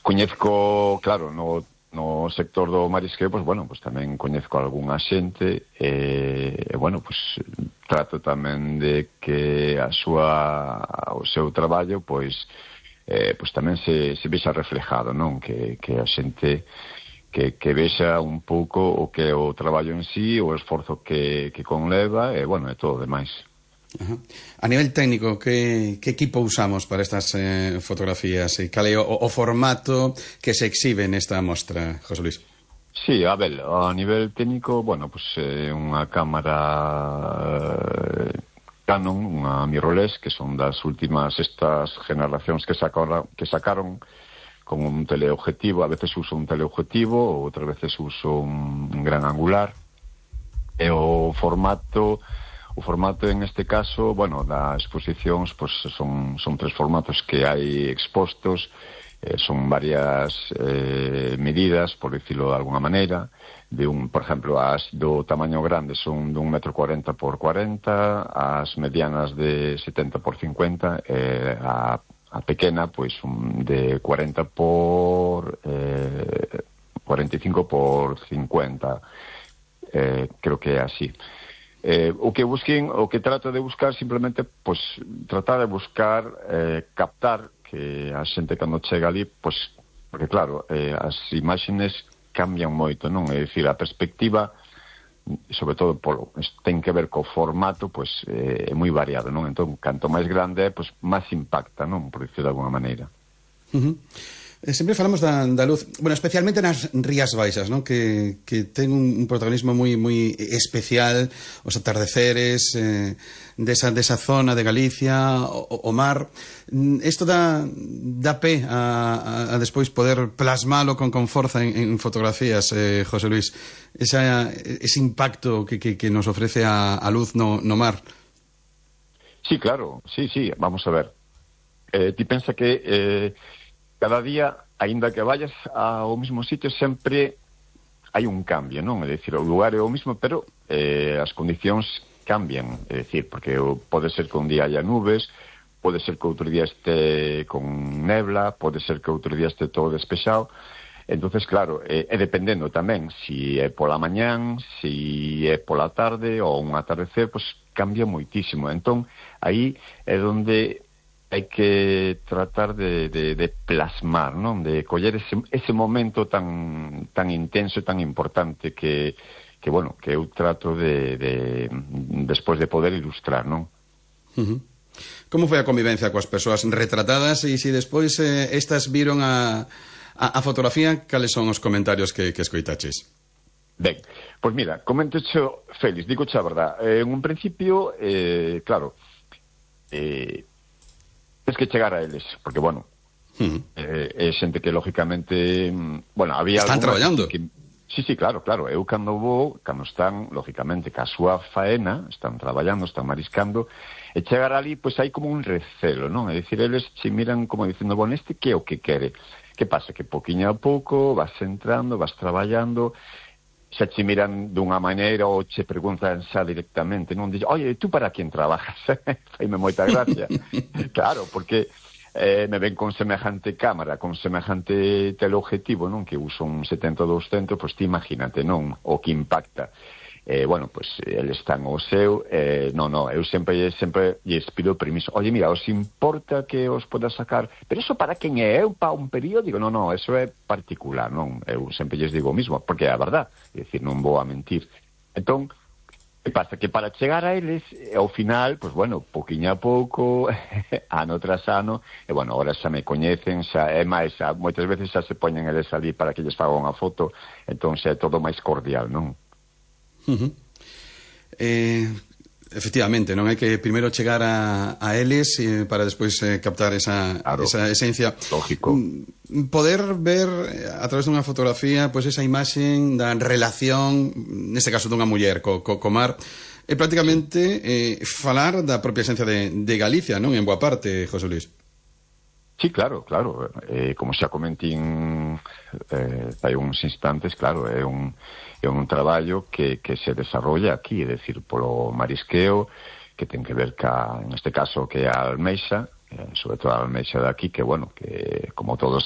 Coñezco, claro, no sector do marisqueo, pois, bueno, pois tamén coñezco algunha xente bueno, pois trato tamén de que o seu traballo, pois tamén se vexa reflejado, non? Que a xente que vexa un pouco o que é o traballo en sí, o esforzo que conleva, e, bueno, e todo o demais. Ajá. A nivel técnico, que equipo usamos para estas fotografías? E cal é o formato que se exhibe nesta mostra, José Luis? Sí, a ver, a nivel técnico, bueno, pues unha cámara Canon, unha mirrorless, que son das últimas estas generacións que sacaron con un teleobjetivo. A veces uso un teleobjetivo, outras veces uso un gran angular. E o formato en este caso, bueno, das exposicións, pues son 3 formatos que hai expostos. Son varias medidas, por dicirlo de alguna maneira. Por exemplo, as do tamaño grande son de 1,40 m por 40, as medianas de 70 por 50, a pequena, pois, de 40 por 45 por 50. Creo que é así. O que trato de buscar simplemente, pois, tratar de buscar captar que a xente cando chega ali, pois, porque claro, as imaxes cambian moito, non? É dicir, a perspectiva, sobre todo ten que ver co formato, pois é moi variado, non? Entón, canto máis grande é, pois máis impacta, non? Por dicir de alguna maneira. Sempre falamos da luz, bueno, especialmente nas Rías Baixas, non? Que ten un protagonismo moi especial, os atardeceres desa zona de Galicia, o mar. Isto dá pé a despois poder plasmalo con forza en fotografías, José Luis, ese impacto que nos ofrece a luz no mar. Sí, claro, sí, vamos a ver. Ti pensa que cada día, aínda que vayas ao mesmo sitio, sempre hai un cambio, non? É dicir, o lugar é o mesmo, pero as condicións cambian. É dicir, porque pode ser que un día haya nubes, pode ser que outro día este con nebla, pode ser que outro día este todo despexado. Entonces, claro, é dependendo tamén si é pola mañán, si é pola tarde ou un atardecer, pois cambia moitísimo. Entón, aí é onde hai que tratar de plasmar, non? De coller ese momento tan intenso e tan importante que bueno, que eu trato de despois de poder ilustrar, non? Como foi a convivencia coas persoas retratadas e se despois estas viron a fotografía, cales son os comentarios que escoitaches? Ben, pois mira, coméntocho, Félix, digo xa a verdad. En un principio, claro, tens que chegar a eles, porque, bueno, é xente que, lógicamente, bueno, había... Están traballando. Sí, claro, eu cando están, lógicamente, ca súa faena, están traballando, están mariscando, e chegar ali, pois hai como un recelo, non? É dicir, eles se miran como dicindo, bueno, este que é o que quere? Que pasa? Que poquinho a pouco vas entrando, vas traballando, xa che miran dunha maneira ou che preguntan xa directamente, non? Dixen, oye, tú para quen trabajas? Faime moita gracia. Claro, porque me ven con semejante cámara, con semejante teleobjetivo, non? Que uso un 70-200, pois ti imagínate, non? O que impacta. Bueno, pois eles están o seu, eu sempre lles pido permiso. Oye, mira, os importa que os poda sacar? Pero eso para quen é? Eu para un periódico? Non, eso é particular, non? Eu sempre lles digo o mismo, porque é a verdad, é dicir, non vou a mentir. Entón, que pasa? Que para chegar a eles, ao final, pois bueno, poquinho a pouco, ano tras ano, e bueno, ahora xa me coñecen, xa é máis, moitas veces xa se poñen eles ali para que lles faga unha foto, entón xa é todo máis cordial, non? Efectivamente, non hai que primeiro chegar a eles para despois captar esa esencia. Lógico. Poder ver a través dunha fotografía pois esa imaxe da relación, neste caso dunha muller co mar, é prácticamente falar da propia esencia de Galicia, non? En boa parte, José Luis. Sí, claro. Como xa comentín hai uns instantes, claro, é un traballo que se desarrolla aquí, é dicir, polo marisqueo, que ten que ver en este caso, que é a almeixa, sobre todo a almeixa de aquí, que, bueno, que como todos sabemos,